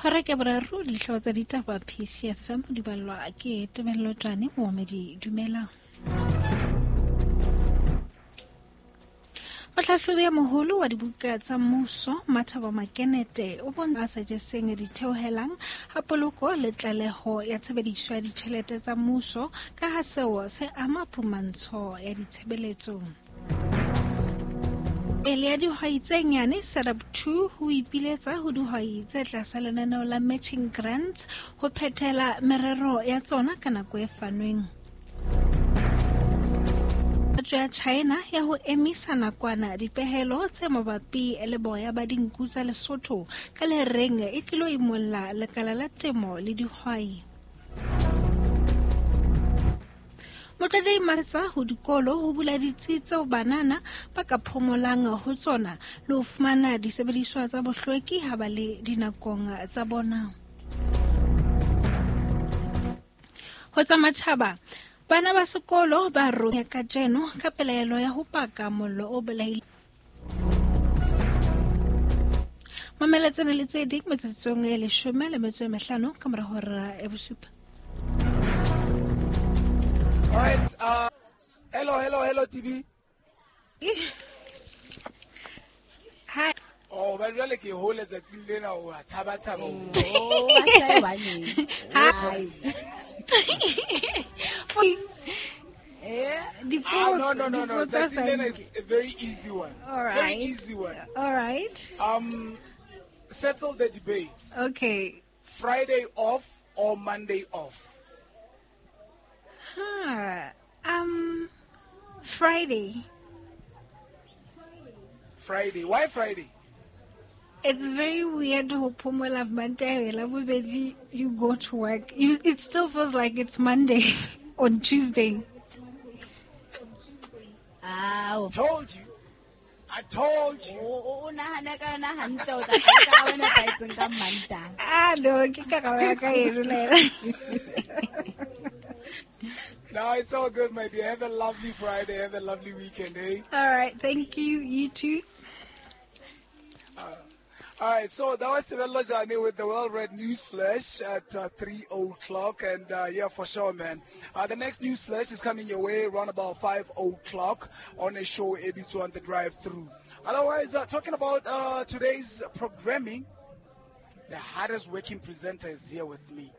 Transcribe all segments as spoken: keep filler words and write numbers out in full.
Hora ke boraro dihlooho tsa ditaba P C F M di ballwa ke Tebello Tjane Mohamedi dumela. Mohlahlobi ya moholo wa dibuka tsa mmuso Mathabo Makenete o bontsha sa jeseng ditheohelang ha poloko le tlaleho ya tshebediso ya ditjhelete tsa mmuso ka ha seo se ama phumantsho ya ditshebeletso. Pele ya dihwai tse nyane Setup two ho ipiletsa ho dihwai tse tlasa lenaneo la matching grants ho phethela merero ya tsona ka nako e fanweng. Ya China ya ho emisa nakwana dipehelo tse mabapi le boya ba dinku tsa Lesotho ka le reng e tlilo imolla lekala la temo le dihwai. Motlatsi Matsa ho dikolo ho bula ditsi tseo banana ba ka phomolang ho tsona le ho fumana disebediswa tsa bohlweki ha ba le dinakong tsa bona. Ho tsa matjhaba bana ba sekolo ba ronya kajeno ka pelaelo ya ho paka mollo o bolaile. Mamela tsena le tse ding metsotsong e leshome le metso e mehlano ka mora hora ya bosupa. All right, uh, hello, hello, hello, T V. Hi. Oh, ba jwale ke hole tsatsing lena o a tshaba tshaba. Oh, ba sa baneng. Hi. Ah, no, no, no, no. Tsatsing lena is a very easy one. All right. Very easy one. All right. Um, settle the debate. Okay. Friday off or Monday off? Huh. Um, Friday. Friday. Why Friday? It's very weird ho phomola Monday, labobedi you go to work. You, it still feels like it's Monday on Tuesday. Ow. Told you. I told you. O nahana ka yona hantle o tla ka wena paitseng ka Mantaha. Ah no, ke ka ga ka e rolela. No, it's all good, my dear. Have a lovely Friday. Have a lovely weekend, eh? All right. Thank you. You too. Uh, all right. So that was Tebello Jane with the World Red News Flash at uh, three o'clock. And, uh, yeah, for sure, man. Uh, the next News Flash is coming your way around about five o'clock on a show, A B two on the drive-through. Otherwise, uh, talking about uh, today's programming, the hardest working presenter is here with me.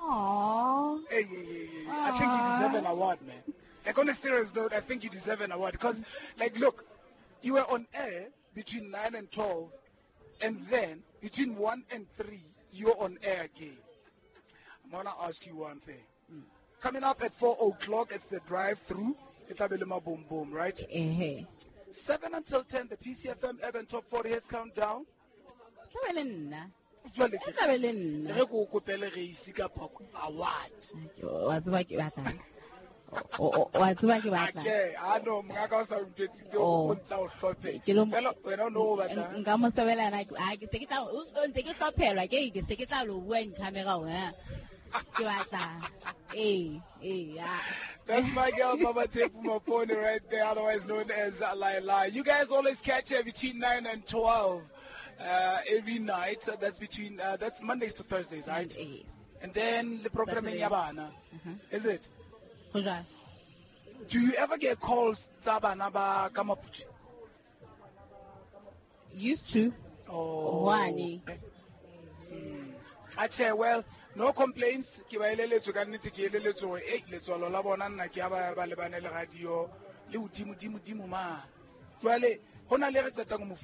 Aww. Hey, hey, hey, hey. I think you deserve an award, man. Like, on a serious note, I think you deserve an award. Because, like, look, you were on air between nine and twelve, and then between one and three, you're on air again. I'm going to ask you one thing. Mm. Coming up at four o'clock, it's the drive-through. It's a boom boom, right? Uh-huh. seven until ten, the P C F M Urban Top forty Hits Countdown. Jwale ke le nna. Re go kopele re ise ka award. Wa tseba ke batlang. Wa tseba ke batlang. Okay, I know mongaka o sa ntwetsitse o ntla o hlophe. Fela wena o no o batlang. Nka mo sebela na a ke se ke tla o ntse ke hlophelwa ke ke se ke tla lo bua in camera wena. Ke batlang. Eh, eh, yeah. That's my girl, Mama Tepu Mapone, right there, otherwise known as Laila. You guys always catch her between nine and twelve. Uh, every night, so that's between uh, that's Mondays to Thursdays, right? Yes. And then the program in Yabana, mm-hmm. Is it? Do you ever get calls tsa bana ba ka Maputi? Used to. Oh. One. Mm. Ache, well, no complaints. Ke ba eleletswe ka nnete, ke eleletswe hore eh letswalo la bona nna ke ba ba lebane le radio le hodimo dimo dimo ma. Jwale hona le re qetang ho mo